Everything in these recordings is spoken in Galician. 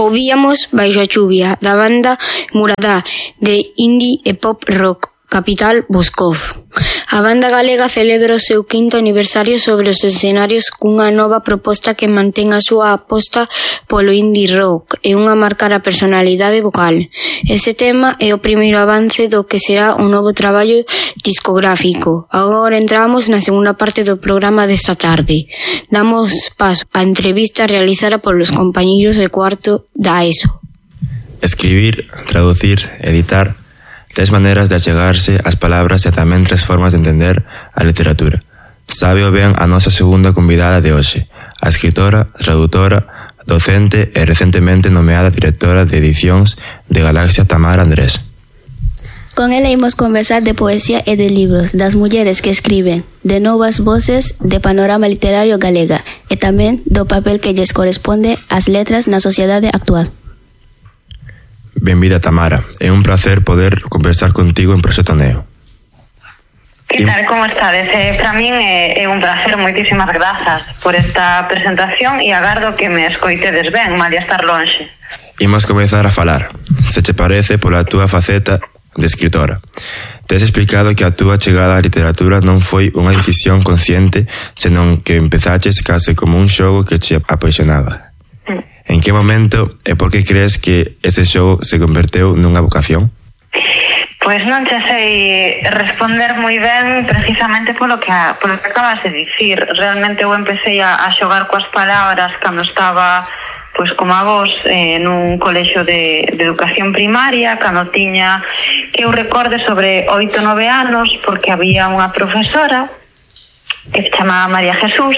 Ouvíamos Baixo a chuvia, da banda Muradá, de indie e pop rock, capital Boscov. A banda galega celebra o seu 5º aniversario sobre os escenarios cunha nova proposta que mantén a súa aposta polo indie rock e unha marcara personalidade vocal. Ese tema é o primeiro avance do que será un novo traballo discográfico. Agora entramos na segunda parte do programa desta tarde. Damos paso á entrevista realizada polos compañeiros de cuarto da ESO. Escribir, traducir, editar, 3 maneiras de achegarse ás palabras e tamén 3 formas de entender a literatura. Sábeo ben a nosa segunda convidada de hoxe, a escritora, tradutora, docente e recentemente nomeada directora de edicións de Galaxia, Tamara Andrés. Con ela imos conversar de poesía e de libros, das mulleres que escriben, de novas voces de panorama literario galega e tamén do papel que lles corresponde ás letras na sociedade actual. Benvida, Tamara. É un placer poder conversar contigo en Proxecto Neo. Que tal, como estades? Para min é un placer, moitísimas grazas por esta presentación e agardo que me escoitedes ben, malia estar lonxe. Imos comezar a falar, se che parece, pola túa faceta de escritora. Tes explicado que a túa chegada á literatura non foi unha decisión consciente, senón que empezaches case como un xogo que che apaixonaba. En que momento e por que crees que ese xogo se converteu nunha vocación? Pois non te sei responder moi ben precisamente polo que acabas de dicir. Realmente eu empecé a xogar coas palabras cando estaba pois como a vos nun colexio de educación primaria, cando tiña que eu recorde sobre 8 ou 9 anos, porque había unha profesora que se chamaba María Jesús,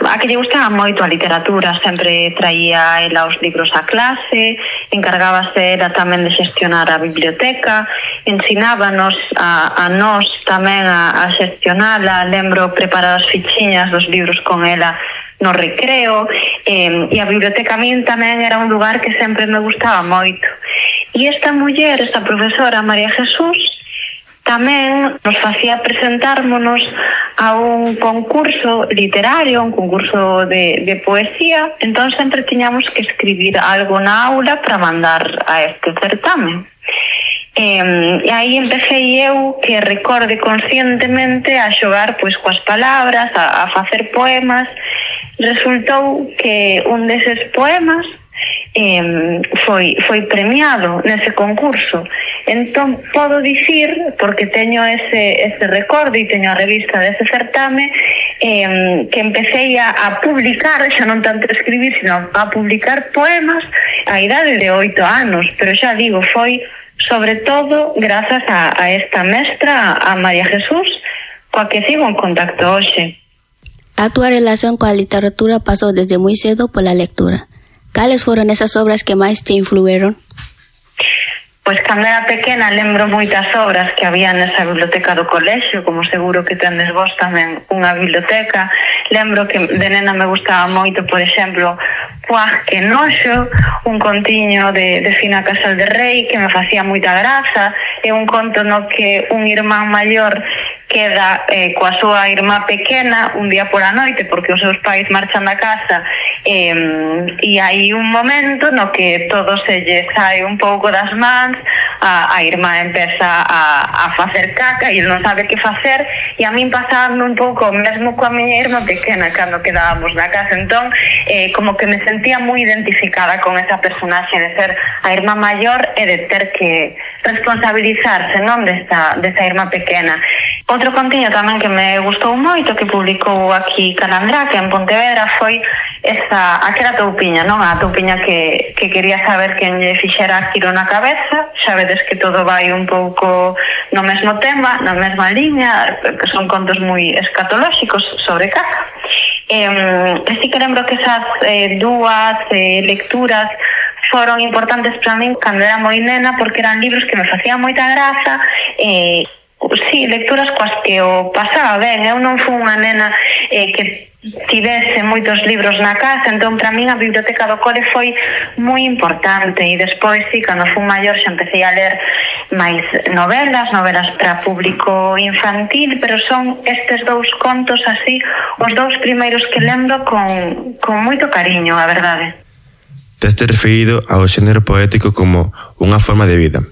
a que lle gustaba moito a literatura, sempre traía ela os libros á clase, encargábase ela tamén de xestionar a biblioteca, ensinábanos a nós tamén a xestionala, lembro preparar as fichiñas dos libros con ela no recreo, e a biblioteca a min tamén era un lugar que sempre me gustaba moito. E esta muller, esta profesora María Jesús, tamén nos facía presentármonos a un concurso literario, un concurso de poesía, entón sempre tiñamos que escribir algo na aula para mandar a este certamen. E aí empecé eu, que recorde conscientemente, a xogar pois coas palabras, a facer poemas. Resultou que un deses poemas foi premiado nese concurso. Entón podo dicir, porque teño ese recorde e teño a revista dese certame, que empecé a publicar, xa non tanto a escribir, sino a publicar poemas a idade de 8 anos, pero xa digo, foi sobre todo grazas a esta mestra, a María Jesús, coa que sigo en contacto hoxe. A túa relación coa literatura pasou desde moi cedo pola lectura. Cales foron esas obras que máis te influeron? Pois cando era pequena lembro moitas obras que había nesa biblioteca do colexio, como seguro que tendes vos tamén unha biblioteca. Lembro que de nena me gustaba moito, por exemplo, Puaj que noxo, un contiño de Fina Casal de Rei que me facía moita graza. É un conto no que un irmán maior queda coa súa irmá pequena un día por a noite porque os seus pais marchan da casa, e hai un momento no que todo se lle sai un pouco das mans, a irmá empeza a facer caca e ele non sabe que facer, e a min pasaba un pouco mesmo coa miña irmá pequena cando quedábamos na casa. Entón como que me sentía moi identificada con esa personaxe de ser a irmá maior e de ter que responsabilizarse, non, desta irmá pequena. Outro contiño tamén que me gustou moito, que publicou aquí Calandra, que en Pontevedra, foi aquela toupiña, non? A toupiña que quería saber quen lle fixera aquilo na cabeza. Xa vedes que todo vai un pouco no mesmo tema, na mesma liña, que son contos moi escatolóxicos sobre caca. Sí que lembro que esas dúas lecturas foron importantes para min cando era moi nena, porque eran libros que me facían moita graza. Sí, lecturas coas que o pasaba ben. Eu non fui unha nena que tivese moitos libros na casa, entón para min a biblioteca do cole foi moi importante. E despois, sí, cando fui maior xa empecé a ler máis novelas para público infantil, pero son estes dous contos así, os dous primeiros que lembro con moito cariño, a verdade. Teste referido ao xénero poético como unha forma de vida.